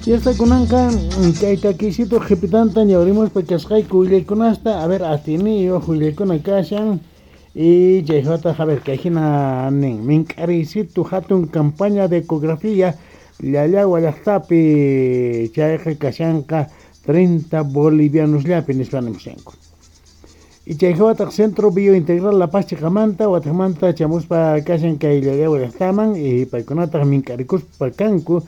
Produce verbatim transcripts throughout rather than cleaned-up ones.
Y hasta kunanqa kay takisito qhipitanta ñawrimuspa kasqayku willaykunasta, a ver, atiniyuq willaykuna kashan y chayjataq, a ver, kay hina nin mink'ariysitu hatun campaña de ecografía Llallagua llaqtapi chayqa kashanqa treinta bolivianosllapi nispa nimushanku. Y chayjawataq Centro Biointegral La Paz chiqamanta wataqmanta chamuspa kashan kay Llallagua llaqtaman y paykunataq mink'arikuspa kanku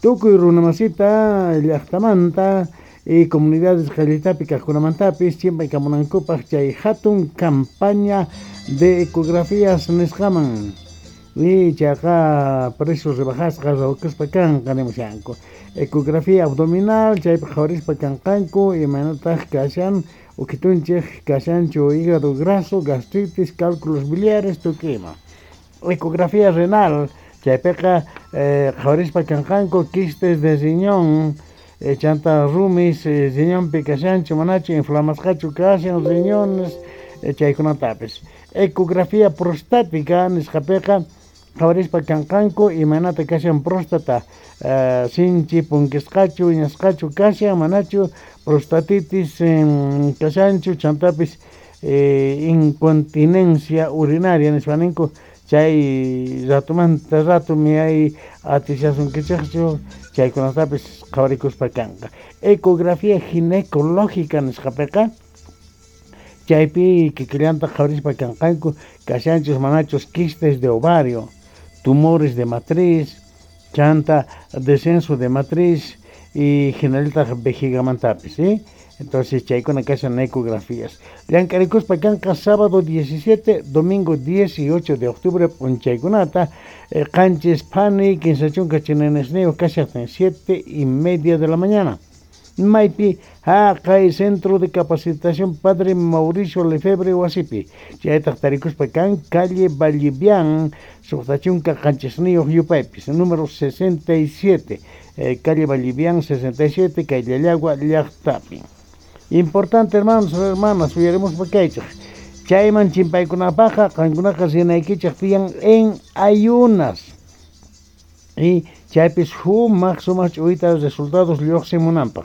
tukuy runamasita llaqtamanta y comunidades qallitapi kaqkunamantapis chimpaykamunankupaq chay hatun campaña de ecografías nisqaman y chayqa precios rebajasqa rawkuspa kanqa nimushanku. Ecografía abdominal chaypi qhawarispa kanqanku imaynataq kashan ukitunchik kashanchu hígado graso, gastritis, cálculos biliares tukuy ima. Ecografía renal chaypiqa eh, qhawarispa kanqanku quistes de riñón, eh, chanta rumis eh, riñonpi kashanchu manachu inflamasqachu kashan riñones eh, chaykunatapis. Ecografía prostática nisqapiqa qhawarispa kanqanku imaynata kashan próstata eh, sinchi punkisqachu wiñasqachu kashan manachu prostatitis eh, kashanchu chantapis eh, incontinencia urinaria nispa ninku chay ratumanta rato miyay atishasunkichikchu chaykunatapis qhawarikuspa kanqa. Ecografía ginecológica nisqapiqa chaypi kikillanta qhawarispa kanqanku kashanchus manachus quistes de ovario, tumores de matriz, chanta descenso de matriz y hinallataq vejigamantapis, ¿sí? Entonces chaykuna kashan ecografías. Llank'arikuspa kanqa sábado diecisiete, domingo dieciocho de octubre p'unchaykunata eh, qanchis phani kinsa chunka chinanisniyuq kashaqtin siete y media de la mañana. Maypi haqay Centro de Capacitación Padre Mauricio Lefebvre wasipi. Chaytaq tarikuspa kan calle Vallivian, suqta chunka qanchisniyuq yupaypis, número sesenta y siete, eh, calle Vallivian sesenta y siete, kay Llallagua llaqtapi. Importante, hermanos, hermanas, uyaremos pakaychik. Chayman chimpaykunapaqa qankunaqa rinaykichik tiyan en ayunas. Y chaypis sumaq sumaq ch'uwita resultados lluqsimunanpaq.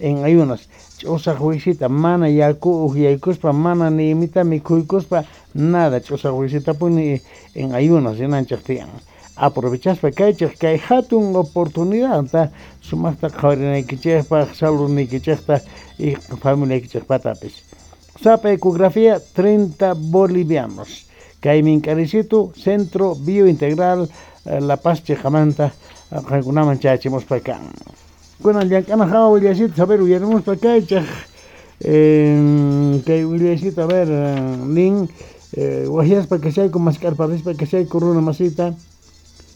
En ayunas, ch'usaq wisita mana yaku ukyaykuspa, mana ni imita mikhuykuspa, nada, ch'usaq wisitapuni en ayunas rinanchik tiyan. Aprovechaspa kaychik kay hatun oportunidadta sumaqta qhawarinaykichikpaq, saludniykichikta y familiaykichikpatapis. Sapa ecografía treinta bolivianos. Kay mink'arisitu Centro Biointegral La Paz chiqamanta qankunaman chayachimuspa kan. Kunan llank'ana hawa willasita, a ver, uyarimuspa kaychik. Eh, kay willasita, a ver, nin eh, wahyaspa kashayku mask'arparispa kashayku runa masita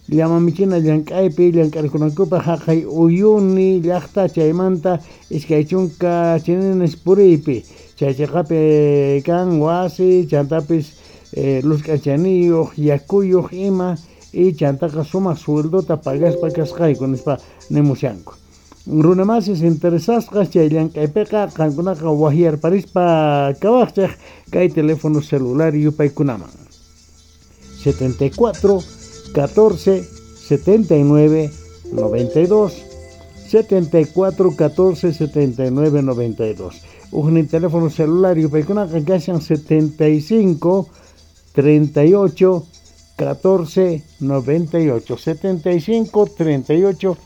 llamamichina llank'aypi llank'arikunankupaq haqay Uyuni llaqta chaymanta iskay chunka chininis puriypi chay chiqapi kan wasi chantapis eh, luz k'achaniyuq yakuyuq ima y chantaqa sumaq sueldota pagaspa kasqayku nispa nimushanku. Runamasis interesasqas chay llank'aypiqa qankunaqa wahyarparispa kawaqchik kay teléfono celular yupaykunaman setenta y cuatro catorce setenta y nueve noventa y dos, setenta y cuatro catorce setenta y nueve noventa y dos. Ujnin teléfono celular yupaykunaqa kashan setenta y cinco treinta y ocho catorce noventa y ocho, setenta y cinco treinta y ocho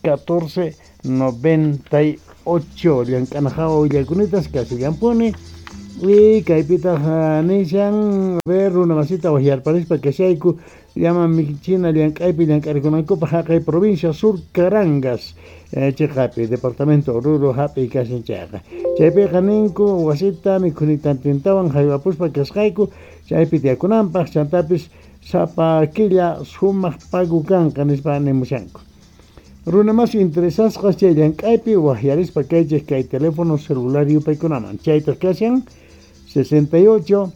catorce noventa y ocho. Llank'anajawa willaykunita kasillanpuni. Y kaypitaq nishan, a ver, runa masita wahyarparispa kashayku llaman michina llank'aypi llank'arikunankupaq haqay provincia Sur Carangas eh, chiqapi departamento Oruro hap'i kashan chayqa. Chaypiqa ninku wasita mikhunitantintawan haywapuspa kasqayku chaypi tiyakunanpaq chantapis sapa killa sumaq pagu kanqa nispa nimushanku. Runa más interesasqas chay llank'aypi wahyarispa kaychik kay teléfono celular yupaykunaman chaytaq kashan sesenta y ocho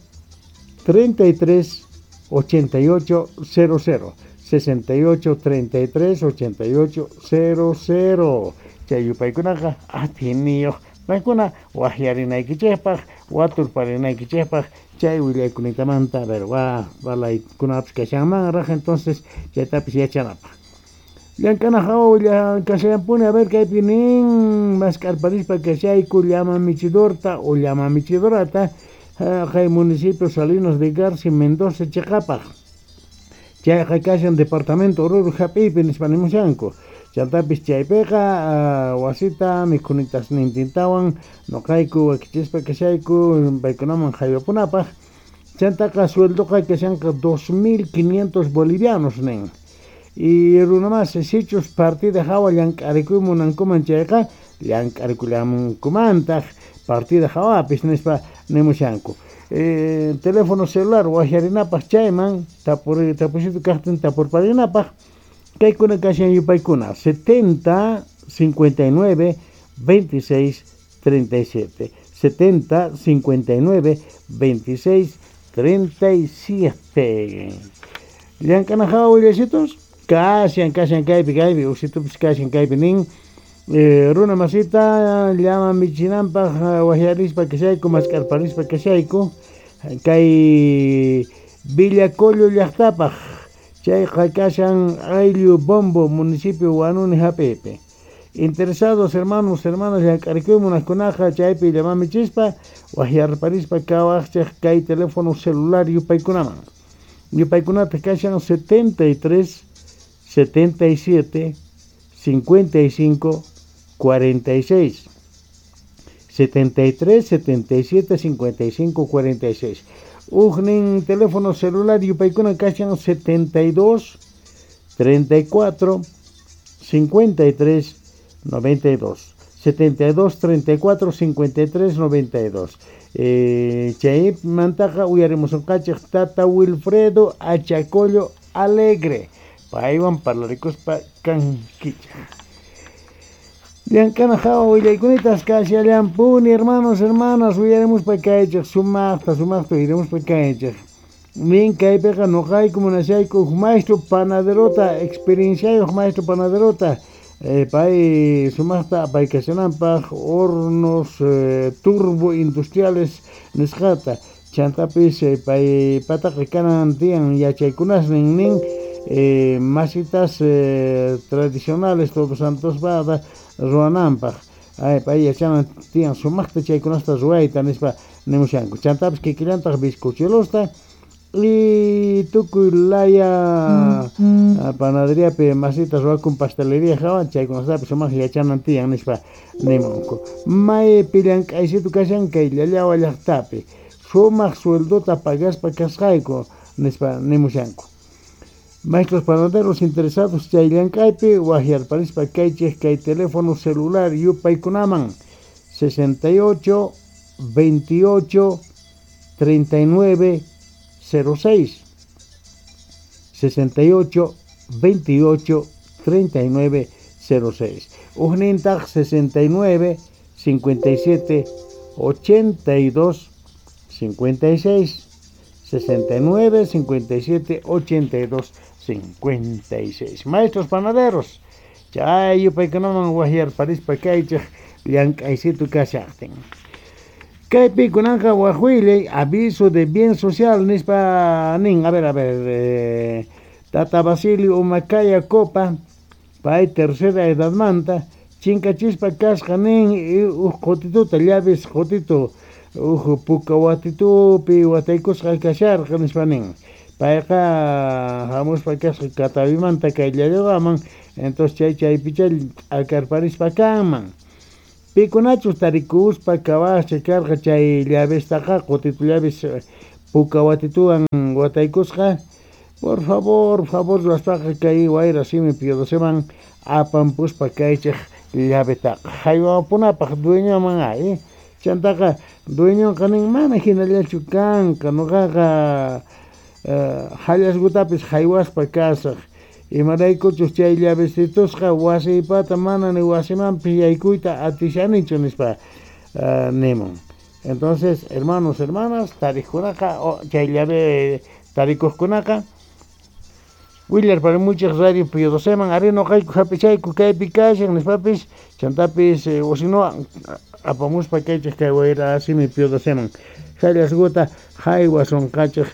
treinta y tres ochenta y ocho cero cero, sesenta y ocho treinta y tres ochenta y ocho cero cero. Chay yupaykunaqa atiniyuq paykuna wahyarinaykichikpaq waturparinaykichikpaq chay willaykunatamanta, a ver, wa balaykunapis kashanmanraq, entonces chaytapis yachanapaq. Llank'ana hawa kashallampuni, a ver kaypi nin mask'arparispa kashayku llama michidorta o llama michidorata kay municipio Salinas de Garci Mendoza chiqapaq. Chayqa kashan departamento Oruro hap'iypi nispa nimushanku. Chantapis chaypiqa wasita mikhunitasnintintawan noqayku wakichispa kashayku paykunaman haywapunapaq. Chantaqa sueldoqa kashanqa dos mil quinientos bolivianos nin. Y runamas sichus partida hawa llank'arikuy munankuman chayqa llank'arikullamunkumantaq partida hawapis nispa nimushanku. Eh, teléfono celular wajarinapaq chayman tapur tapusitu kaqtin tapurparinapaq kaykuna kashan yupaykuna setenta cincuenta y nueve veintiséis treinta y siete setenta cincuenta y nueve veintiséis treinta y siete. Llank'ana hawa willasitos kashan kashan kaypi kaypi usitupis kashan kaypi nin eh, runa masita llama michinanpaq wajarispa kashayku mask'arparispa kashayku kay Villacollo llaqtapaq chayqa kashan ayllu Bombo municipio Huanuni hap'ipi. Interesados hermanos hermanas llank'arikuy munaqkunaqa chaypi llama michispa wajarparispa kawaqchaq kay teléfono celular yupaykunaman. Yupaykunata kashan setenta y tres setenta y siete cincuenta y cinco cuarenta y seis setenta y tres setenta y siete cincuenta y cinco cuarenta y seis. Ujnin teléfono celular yupaykuna kashan setenta y dos treinta y cuatro cincuenta y tres noventa y dos setenta y dos treinta y cuatro cincuenta y tres noventa y dos. Eh, chay mantaqa uyarimusunqachik tata Wilfredo Achacollo Alegre paywan parlarikuspa kankichaq. Llank'ana hawa willaykunitaq kashallampuni hermanos hermanas uyarimuspa kaychik sumaqta sumaqta uyarimuspa kaychik. Nin kaypiqa noqayku munashayku huk maestro panaderota experienciayuq maestro panaderota eh, pay sumaqta apaykashananpaq hornos eh, turbo industriales nisqata chantapis eh, pay pataqa kanan tiyan yachaykunasnin nin eh, masitas eh, tradicionales Todos Santos bada ruwananpaq. Ay, pay yachanan tiyan sumaqta chaykunasta ruwayta nispa nimushanku. Chantapis kikillantaq bizcochuelosta y tukuy laya mm-hmm. panaderiapi masitas ruwakun pastelería hawan chaykunastapis sumaq yachanan tiyan nispa nimunku. Maypi llank'aysitu kashan kay Llallawa llaqtapi sumaq sueldota pagaspa kasqayku nispa nimushanku. Maestros panaderos interesados chay llank'aypi wajarparispa kaychik kay teléfono celular yupaykunaman sesenta y ocho veintiocho treinta y nueve cero seis sesenta y ocho veintiocho treinta y nueve cero seis Ujnintaq sesenta y nueve cincuenta y siete ochenta y dos cincuenta y seis sesenta y nueve cincuenta y siete ochenta y dos cincuenta y seis. Maestros panaderos chay yupaykunaman wajarparispa kaychik llank'aysitu kashaqtin. Kaypi kunanqa wajwillay aviso de bien social nispa nin. A ver, a ver, eh, Tata Basilio Humancaya Copa pay tercera edadmanta chinkachispa kasqa nin uj qutituta llaves qutitu uj puka watitupi wataykusqa kasharqa nispa nin. Payqa hamuspa kasqa Catavimanta kay Llallawaman entonces chay chaypicha t'akarparispa kanman. Pikunachus tarikuspa kawascha karqa chay llavestaqa qutitu llaves puka watituwan wataykusqa por favor, favor ruwaspaqa kay wayra simi Pío Doceman apampuspa kaychik llavetaqa haywapunapaq dueñoman ay chantaqa dueñonqa nin mana hinallachu kanqa noqaqa hallasqutapis haywaspa kasaq imaraykuchus chay llavestitusqa wasiypata mana ni wasimanpis yaykuyta atishanichu nispa uh, nimun. Entonces, hermanos, hermanas, tariqkunaqa chay llave tarikuqkunaqa willarparimuchik radio Pío Doceman ari noqayku hap'ichayku kaypi kashan nispapis chantapis eh, osino apamuspa kaychik kay wayra simi Pío Doceman hallasquta haywasunqachik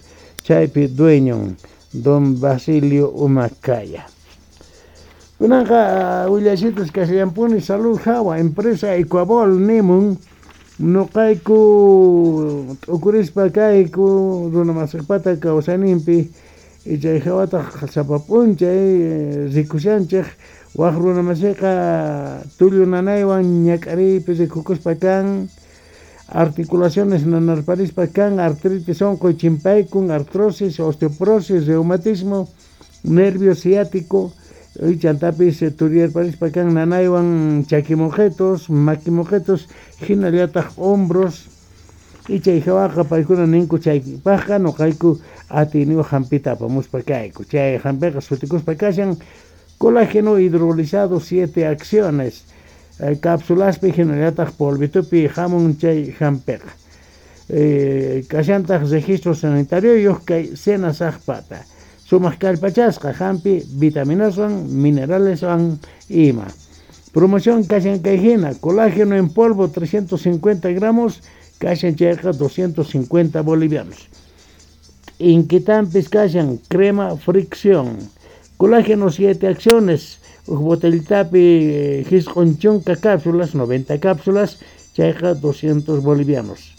chaypi dueñon don Basilio Humancaya. Kunanqa willasitas kashallampuni salud hawa empresa Ecuabol nimun noqayku t'ukurispa kayku runa masiqpata kawsayninpi chay hawataq sapa p'unchay rikushanchik waq runa masiqa tullu nanaywan ñak'ariypi rikukuspa kan articulaciones nanarparispa kan artritis unquy chimpaykun artrosis osteoporosis reumatismo nervio ciático chantapis turiyarparispa kan nanaywan chakimoqetos makimoqetos hinallataq hombros y chay hawaqa paykuna ninku chaypaqqa noqayku atiyniyuq hampita apamuspa kayku chay hampiqa sutikuspa kashan colágeno hidrolizado siete acciones cápsulaspi hinallataq polvitupi hamun chay hampiqa eh, kashantaq registro sanitario kay senasaqpata sumaq kallpachasqa hampi vitaminaswan mineraleswan ima promoción kashan kay hina colágeno en polvo trescientos cincuenta gramos kashan chayqa doscientos cincuenta bolivianos inquitanpis kashan crema fricción colágeno siete acciones uj botellitapi jisq'un chunka cápsulas noventa cápsulas chayqa doscientos bolivianos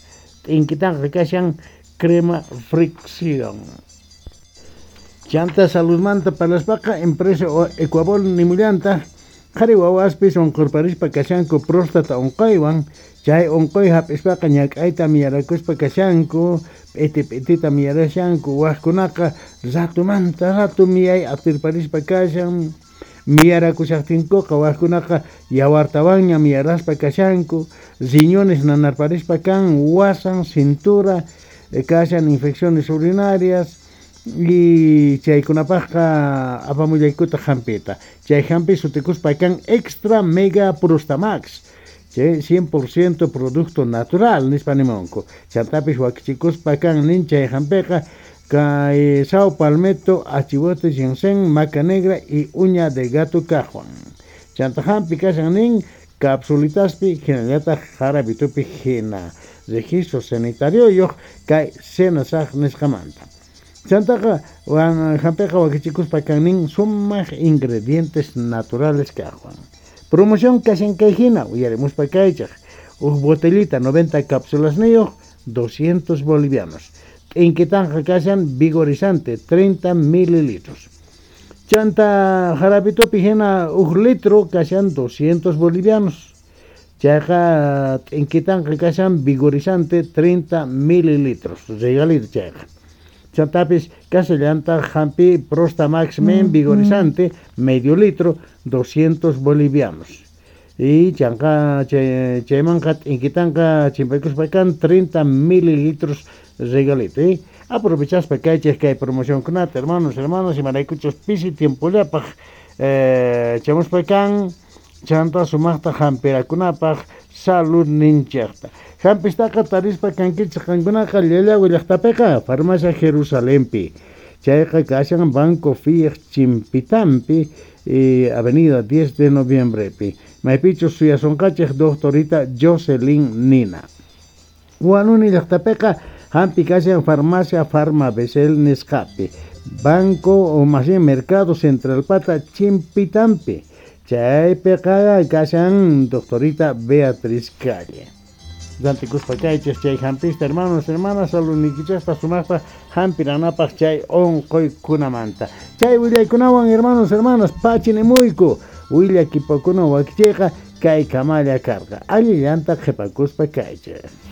inquitanqa kashan crema fricción chanta saludmanta parlaspaqa empresa Ecuabol nimullanta qhari wawaspis unqurparispa kashanku próstata unquywan chay unquy hap'ispaqa ñak'ayta miyarakuspa kashanku p'iti p'itita miyarashanku waqkunaqa ratumanta ratu miyay atirparispa kashan miyarakushaqtinkuqa waqkunaqa yawartawanña miyaraspa kashanku riñones nanarparispa kan wasan cintura kashan infecciones urinarias y chaykunapaqqa apamullaykutaq hampita chay hampi sutikuspa kan extra mega prostamax chay cien por ciento producto natural nispa nimunku chantapis wakichikuspa kan nin chay hampiqa kay sao palmetto achihuate ginseng maca negra y uña de gato kajwan chanta hampi kashan nin capsulitaspi hinallataq jarabitupi hina registro sanitario yuq kay senasaq nisqamanta chantaqa wan hampiqa wakichikuspa kan nin sumaq ingredientes naturales kajwan promoción kashan kay hina uyarimuspa kaychaq uj botellita noventa cápsulas niyuq doscientos bolivianos t'inkitanqa kashan vigorizante treinta mililitros chanta jarabitupi hina uj litro kashan doscientos bolivianos chayqa t'inkitanqa kashan vigorizante treinta mililitros regalito chayqa chantapis kasallantaq hampi Prostamax men vigorizante medio litro doscientos bolivianos y chanqa chaymanqa t'inkitanqa chimpaykuspa kan treinta mililitros regalito ¿eh? Aprovechaspa kaychik kay promocionkunata hermanos hermanas imaraykuchus pisi tiempollapaq eh, chamuspa kan chanta sumaqta hampirakunapaq salud ninchaqta hampistaqa tarispa kankichik qankunaqa Llallagua llaqtapiqa farmacia Jerusalempi chayqa kashan Banco Fiej Chimpitampi eh, avenida diez de noviembrepi maypichus suyasunqachik doctorita Jocelyn Nina Huanuni llaqtapiqa hampi kashan farmacia Farma Besel nisqapi Banco o más bien Mercado Central pata Chimpitampi chaypiqa kashan doctorita Beatriz Calle rantikuspa kaychik chay hampista hermanos hermanas saludnikichaspa sumaqpa hampiranapaq chay unquykunamanta chay willaykunawan hermanos hermanas pachinimuyku willakipakuna wakichiyqa kay kamalla karqa allillanta qhipakuspa kaychik.